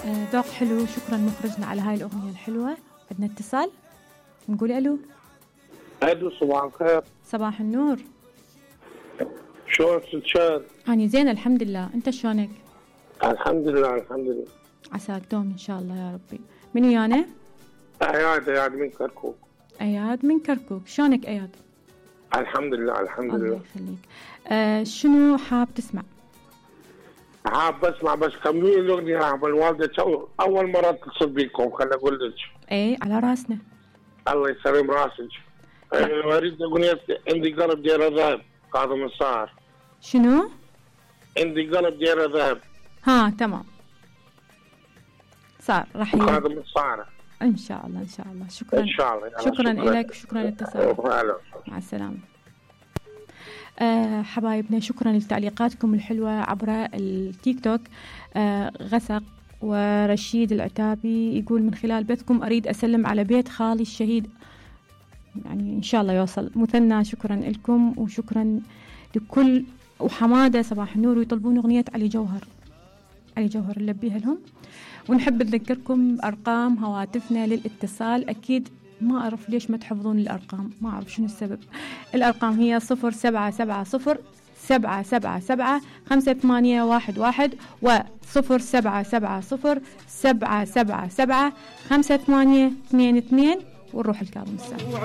ذوق حلو. شكرا مخرجنا على هاي الأغنية الحلوة. عندنا اتصال، نقول ألو. ألو، صباح الخير. صباح النور. شلونك ست شهد؟ أنا زين الحمد لله، أنت شلونك؟ الحمد لله الحمد لله. عساك دوم إن شاء الله يا ربي. من ويانا؟ أياد من كركوك. أياد من كركوك، شلونك أياد؟ الحمد لله الحمد لله. الله يخليك. شنو حاب تسمع؟ حاب اسمع بس كملي الاغنيه يا الوالده. اول مره اتصل بيكم، خليني اقول لك. ايه على راسنا. الله يسلم راسك. اريد اغنيه عندي قلب ديره ذهب كاظم الصاهر. شنو؟ عندي قلب ديره ذهب. ها تمام صار راح كاظم الصاهر ان شاء الله ان شاء الله. شكرا ان شاء الله. شكرا لك وشكرا لاتصالك. مع السلامه. حبايبنا شكرا لتعليقاتكم الحلوة عبر التيك توك. غسق ورشيد العتابي يقول من خلال بثكم أريد أسلم على بيت خالي الشهيد، يعني إن شاء الله يوصل. مثنى شكرا لكم وشكرا لكل. وحمادة صباح النور ويطلبون أغنية علي جوهر. علي جوهر نلبيها لهم. ونحب نذكركم بأرقام هواتفنا للاتصال. أكيد ما أعرف ليش ما تحفظون الأرقام، ما أعرف شنو السبب. الأرقام هي 0770-7811 و0770-777-582 ونروح الكاظم الساهر.